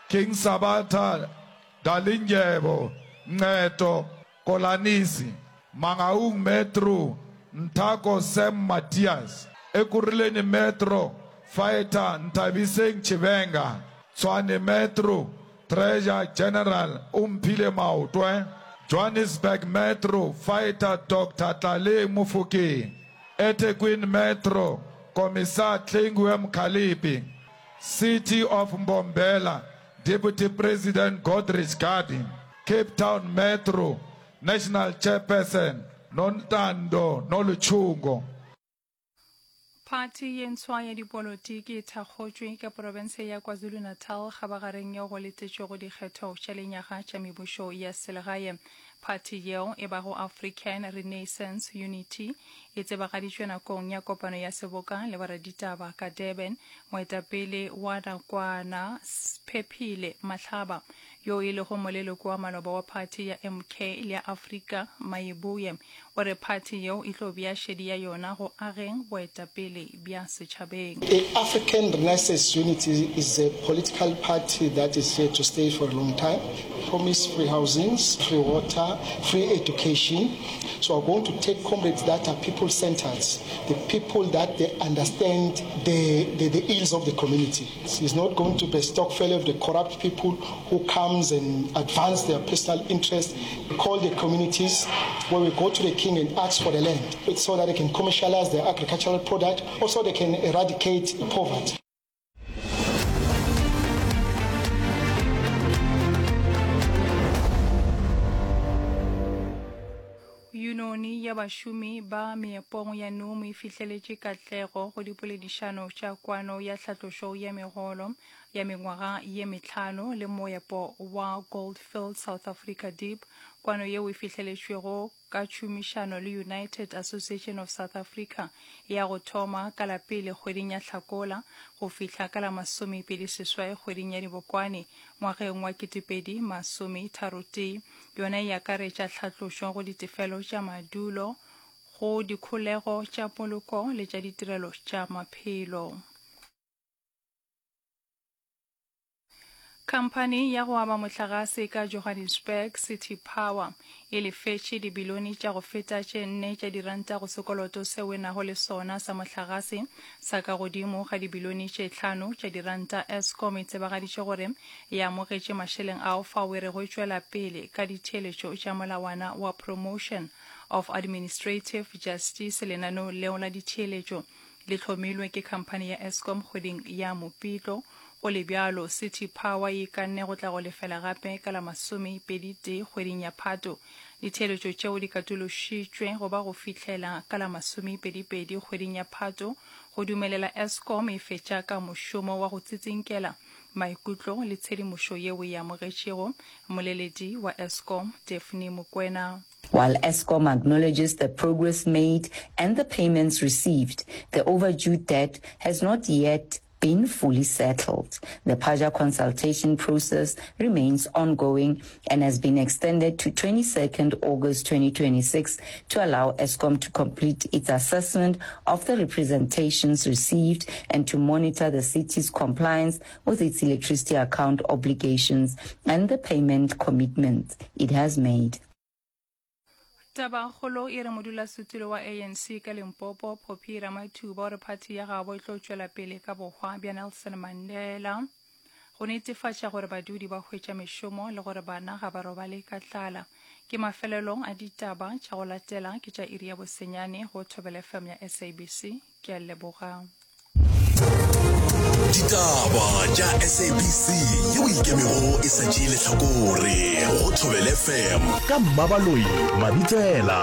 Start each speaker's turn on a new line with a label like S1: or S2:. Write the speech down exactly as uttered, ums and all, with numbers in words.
S1: King Sabata Dalindyebo Ncedo Kolanisi, Mangaung Metro Nthako Sam Matias, Ekurhuleni Metro Fighter Nthabiseng Tshivhenga, Tshwane Metro Treasurer General Omphile Maotwe, Johannesburg Metro Fighter Doctor Tlaleng Mofokeng, eThekwini Metro Commissar Hlengiwe Mkhaliphi, City of Mbombela Deputy President Godrich Gardee, Cape Town Metro National Chairperson Nontando Nolutshungu.
S2: Phathi ye ntshwa ya dipolotiki e thakgotšwe ka profense ya KwaZulu-Natal kgabagareng yeo go letetšwego dikgetho tša lenyaga tša mebušo ya selegae. Phathi yeo e bago African Renaissance Unity e tsebagaditšwe nakong ya kopano ya seboka le boraditaba ka Durban. Moetapele wa nakwana Sphephile Mahlaba yo e lego moleloko wa maloba wa phathi ya M K le ya Afrika Mayibuye o re phathi yeo e tlo bea šedi ya yona go ageng boetapele bja setšhabeng.
S3: The African Renaissance Unity is a political party that is here to stay for a long time. Promise free housings, free water, free education. So we're going to take comrades that are people-centered, the people that they understand the, the, the ills of the community. It's not going to be a stokvel of the corrupt people who comes and advance their personal interests. We call the communities where we go to the king and ask for the land so that they can commercialize their agricultural product, also they can eradicate poverty.
S2: Yunoni ya bašomi ba meepong ya N U M e fihleletše katlego go dipoledišano tša kwano ya tlhatlošo ya megolo ya mengwaga ye mehlano le moepo wa Gold Fields South Africa Deep. Kwano yeo e fihleletšwego ka tšhomišano le United Association of South Africa ya go thoma ka la pele kgweding ya Hlakola go fihla ka la masomepedi seswai kgweding ya Dibokwane ngwageng wa ketepedi masome tharo tee. Yona e akaretša tlhatlošo go ditefelo tša madulo, go dikholego tša poloko le tša ditirelo tša maphelo. Khamphani ya go aba mohlagase ka Johannesburg, City Power, e lefetše dibilione tša go feta tše nne tša diranta go sekoloto seo e nago le sona sa mohlagase sa ka godimo ga dibilione tše hlano tša diranta. Eskom e tsebagaditše gore e amogetše mašeleng ao fao e rego e tšwela pele ka ditheeletšo tša molawana wa Promotion of Administrative Justice. Lenaneo leo la ditheeletšo le hlomilwe ke khamphani ya Eskom kgweding ya Mopitlo. Go le bjalo, City Power e ikanne go tla go lefela gape ka la masomepedi tee kgweding ya Phato. Ditheeletšo tšeo di katološitšwe go ba go fihlela ka la masomepedi-pedi kgweding ya Phato go dumelela Eskom e fetša ka mošomo wa go tsitsinkela maikutlo le tshedimošo yeo e amogetšego. Mmoleledi wa Eskom, Daphne Mokwena.
S4: While Eskom acknowledges the progress made and the payments received, the overdue debt has not yet been fully settled. The PAJA consultation process remains ongoing and has been extended to twenty-second August twenty twenty-six to allow Eskom to complete its assessment of the representations received and to monitor the city's compliance with its electricity account obligations and the payment commitments it has made.
S2: Tabakgolo e re modulasetulo wa A N C ka Limpopo, Phophi Ramathuba, o re phathi ya gabo e tlo tšwela pele ka bohwa bja Nelson Mandela go netefatša gore badudi ba hwetša mešomo le gore bana ga ba robale ka tlala. Ke mafelelong a ditaba tša go latela ke tša iri ya bosenyane go Thobela F M ya S A B C. Ke a leboga.
S5: Ditaba tša S A B C yeo e ikemego e sa tšee lehlakore go Thobela F M ka Mmabaloi Mabitsela.